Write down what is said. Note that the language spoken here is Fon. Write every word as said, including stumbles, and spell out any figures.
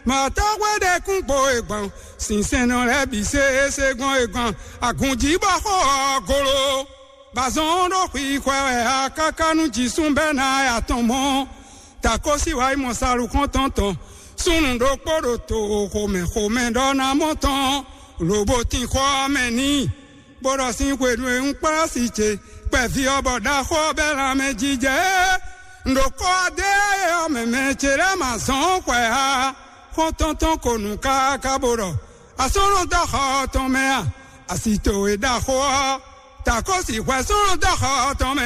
Mɔ̌tɔ́ hwe ɖé kún gbo e gbɔn, sinsɛnnɔ lɛ́ɛ bǐ se se gbɔn e gbɔn agunjí bɔ xó ɔ́ golo. Bazɔn ɖo xwixwɛ wɛ a káká nú jǐsún bɛ́ ná ya tɔn mɔ. Takósi wá yi mɔ salu xɔ́ntɔn tɔn. Súnnu ɖokpó ɖo to xomɛ xomɛ ɖɔ ná mɔ tɔn, lobo tin xɔ ɔ́ mɛ n'i. Bó ɖɔ sín xwenu e un kplá si ce kpɛví ɔ́, bɔ ɖaxó ɔ́ bɛ́ lanmɛ jijɛ é. Un ɖo kɔ́ adé ɔ́ mɛ mɛ ce lɛ́ɛ ma zɔn xwɛ á. Xɔ́ntɔn tɔn ko nǔ káká bó ɖɔ: Asɔ́nɔ dó xɔ tɔn mɛ a? Asi towe ɖaxó ɔ́, takó sixú asɔ́nɔ dó xɔ tɔn mɛ.